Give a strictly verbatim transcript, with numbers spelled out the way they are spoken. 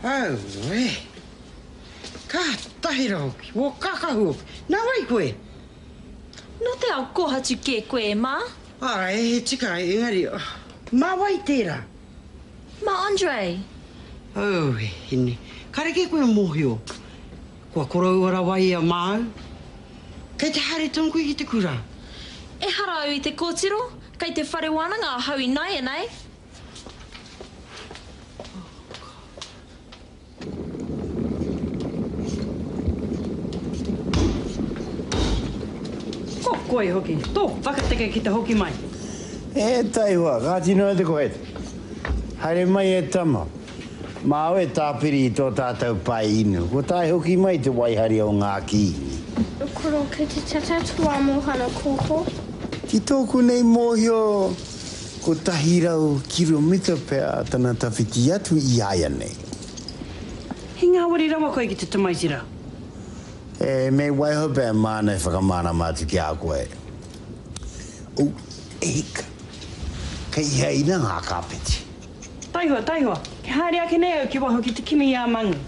Auē! Kātahi rawa hoki, wō kākahu hoki. Nā wai koe? Nō te ao kōhatu kē koe e Mā. Āe, he tika, engari, mā wai tērā? Mā Andre. Auē, hine, kāre kē koe mōhio, kua koroua rawa ia māu. Kei te haere tonu koe ki te kura? Ehara au i te kōtiro, kei te whare wānanga ahau ināianei. Ko koe hoki, tō whakateke ki te hoki mai. E taihoa, kāti noa te kohet. Haere mai e tama. Māu e tāpiri i tō tātou pae inu, kua tae hoki mai te waihari o ngā kīngi. Koro, kei te tata tō amohana kōkō. Ki tōku nei mōhio, kotahi rau kiromita pea tana tawhiti atu i āianei. He ngāwari rawa koe ki te tamaiti rā. E, me waiho pea māna e whakamārama atu ki a koe. Oh, e hika. Kei hea ina ngā kāpeti? Taihoa, taihoa, ke haere ake nei au ki waho ki te kimi i a Mangu.